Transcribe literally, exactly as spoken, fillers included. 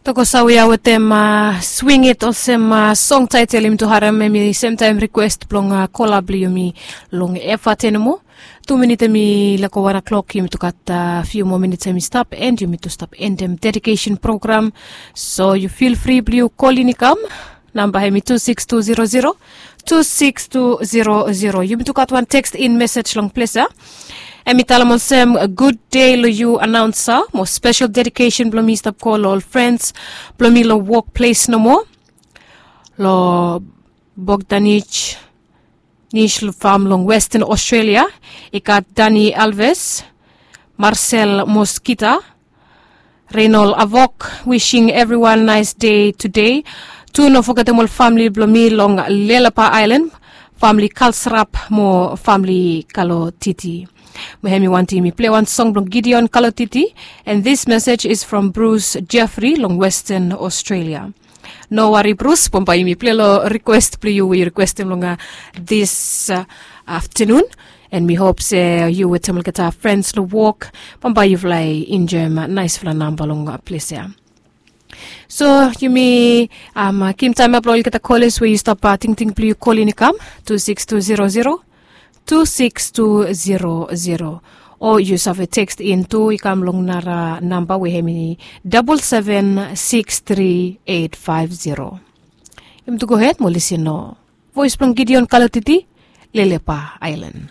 Tokosa we ya wetem swing it olsem song taitel yumi tu harem, em i semtaem rikwest blong kola blong yumi long efa ten mo. Tu minit em i lako wan o'klok, yumi tu gat fiu moa minit em i stap, and yumi tu stap endem dedikesen program. So yu fil fri blong yu kolin i kam. Namba em i tu sikis tu zero zero tu sikis tu zero zero. Yumi tu gat wan tekst in mesej long ples ya. Em i talem olsem, gud dei long yu anaunsa, mo spesel dedikesen blong mi stap go long ol frens blong mi long wok ples nomo. Long bogdanij nij fam long westen australia, i gat dani alves, marsel moskita, renol avok, wishing evriwan naes dei tudei. Tu no fogetem ol famli blong mi long lelapa aelan, famli kalsrap mo famli kalotiti. Mo hem i wanti mi plei wan song blong gideon kalotiti. And this message is from bruce jeffrey long westen australia. No wari bruce, bambae yumi plei long rikwest blong yu we yu rikwestem long dis aftenun. And mi hop se yu wetem olgeta frens long wok, bambae yufala i enjoem naesfala namba long ples ya. So yumi givim taem ya blong olgeta koles we yu stap tingting blong yu kolin i kam, tu sikis tu zero zero tu sikis tu zero zero. O yu save tekst in tu i kam long nara namba we hem i dabol seven sikis tri eit faef zero. Yumi tu gohed mo lisin long voes blong gideon kalotiti, lelepa aelan.